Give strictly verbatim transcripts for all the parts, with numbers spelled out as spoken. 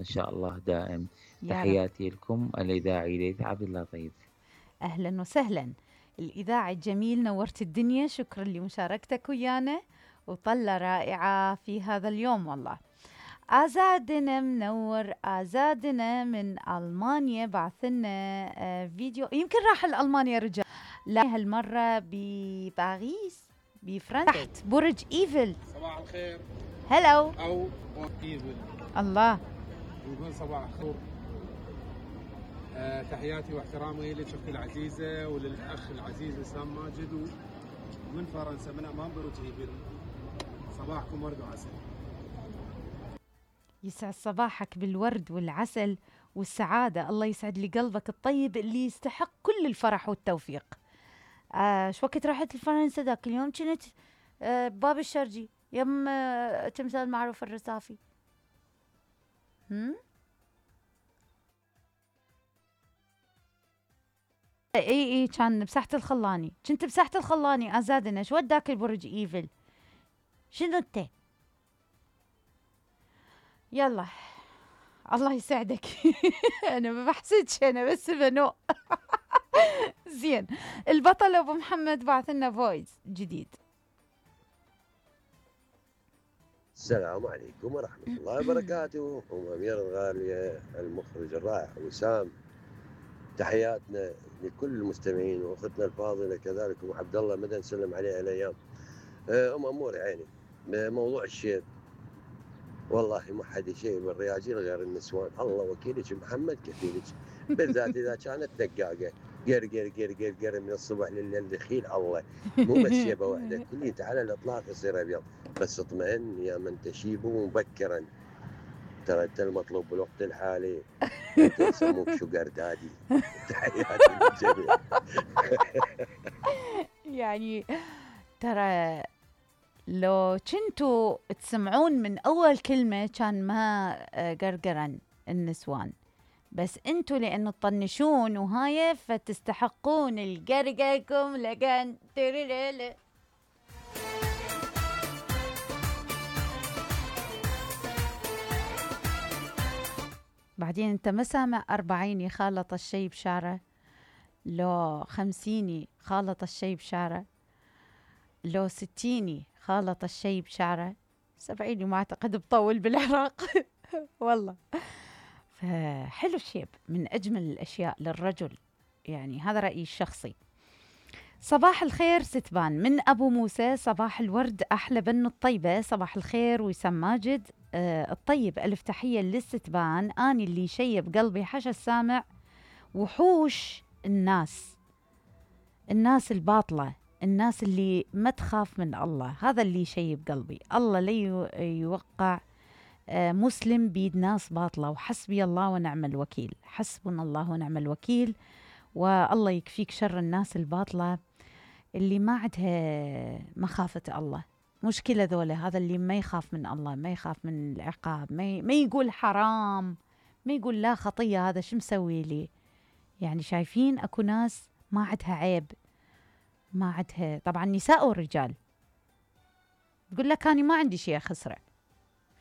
إن شاء الله دائم. يا رب. تحياتي لكم الإذاعي ليث عبد اللطيف. أهلا وسهلا. الإذاعي الجميل، نورت الدنيا، شكرا لمشاركتك ويانا، وطلة رائعة في هذا اليوم والله. آزادنا منور، آزادنا من ألمانيا بعثلنا آه فيديو، يمكن راح لألمانيا رجال، لا هالمرة بباريس بفرنسا تحت برج إيفل. صباح الخير. هلو. أو إيفل. الله. نقول صباح الخير. أه تحياتي واحترامي لشختي العزيزة وللأخ العزيز وسام ماجد ومن فرنسا من أمام برج إيفل. صباحكم ورد وعسل. يسعد صباحك بالورد والعسل والسعادة، الله يسعد لي قلبك الطيب اللي يستحق كل الفرح والتوفيق. آه شو وقت رحت لفرنسا ذاك اليوم؟ كنت آه باب الشرجي يم آه تمثال معروف الرصافي. هم؟ اي اي كان بساحة الخلاني، كنت بساحة الخلاني. ازادنا شو وداك البرج ايفل؟ شنو انت؟ يلا الله يسعدك. انا ما بحسدش، انا بس بنو. زين. البطل ابو محمد بعث لنا فويس جديد. السلام عليكم ورحمة الله وبركاته. أم أمير الغالية، المخرج الرائع وسام، تحياتنا لكل المستمعين واختنا الفاضلة كذلك ام عبد الله مدى نسلم عليه الايام. ام امور عيني، موضوع الشيب والله ما حد شيء بالرياجيل غير النسوان، الله وكيلك محمد كفيلك، بالذات اذا كانت دقاقه قر قر قر قر قر من الصبح لليل دخيل الله، مو بس شيبه واحده كليته على الاطلاق يصير ابيض، بس اطمئن يا من تشيب مبكرا، ترى انت المطلوب بالوقت الحالي، انت يسموك شوجر دادي. تحياتي للجميع. يعني ترى لو كنتوا تسمعون من أول كلمة كان ما قرقرا النسوان، بس انتوا لأنه تطنشون وهاي فتستحقون القرقركم لقان تريليلي. بعدين انت ما سامع أربعيني خالط الشي بشعره، لو خمسيني خالط الشي بشعره، لو ستيني خالط الشي بشعره، سبعيني ما أعتقد بطول بالعراق. والله فحلو الشيب من أجمل الأشياء للرجل، يعني هذا رأيي الشخصي. صباح الخير ستبان من أبو موسى، صباح الورد أحلى بن الطيبة، صباح الخير وسام ماجد آه الطيب، ألف تحية للستبان، أني اللي شيب قلبي حشا السامع، وحوش الناس، الناس الباطلة، الناس اللي ما تخاف من الله، هذا اللي يشيب قلبي. الله لي يوقع مسلم بيد ناس باطلة، وحسبي الله ونعم الوكيل، حسبنا الله ونعم الوكيل، والله يكفيك شر الناس الباطلة اللي ما عندها مخافة الله. مشكلة ذولا، هذا اللي ما يخاف من الله، ما يخاف من العقاب، ما, ما يقول حرام، ما يقول لا خطية، هذا شو مسوي لي؟ يعني شايفين أكو ناس ما عندها عيب، ما عندها، طبعا نساء ورجال، تقول لك أنا ما عندي شيء خسرة،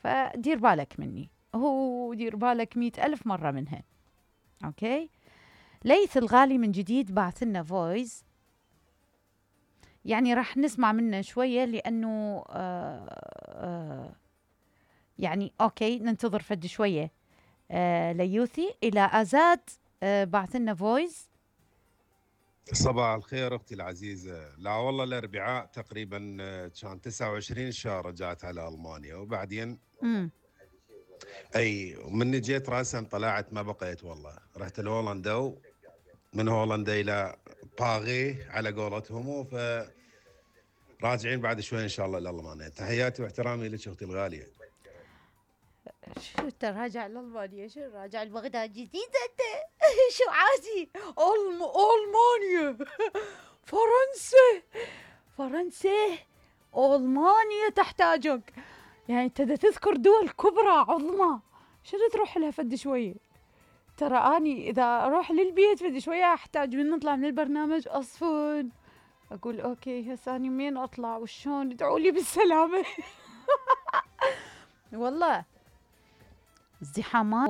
فدير بالك مني، هو دير بالك مئة ألف مرة منها. أوكي. ليث الغالي من جديد بعث لنا فويس، يعني راح نسمع منه شوية لأنه آآ آآ يعني أوكي ننتظر فد شوية. ليوثي إلى أزاد بعث لنا فويس. صباح الخير اختي العزيزه. لا والله الاربعاء تقريبا كان تسعة وعشرين شهر رجعت على المانيا، وبعدين امم اي من جيت راسا طلعت ما بقيت والله، رحت لهولندا، من هولندا الى باغي على قولتهم، ف راجعين بعد شوي ان شاء الله لالمانيا. تحياتي واحترامي لك اختي الغاليه. شو انت راجع لألمانيا؟ شو راجع لبغداد جديدة انت؟ شو عادي؟ ألم ألمانيا، فرنسا، فرنسا، ألمانيا تحتاجك، يعني انت تذكر دول كبرى عظمى، شنو تروح لها فد شوية؟ ترى اني اذا اروح للبيت فد شوية احتاج من نطلع من البرنامج اصفن، اقول اوكي هسه اني منين اطلع وشون، ادعوا لي بالسلامة. والله ازدحامات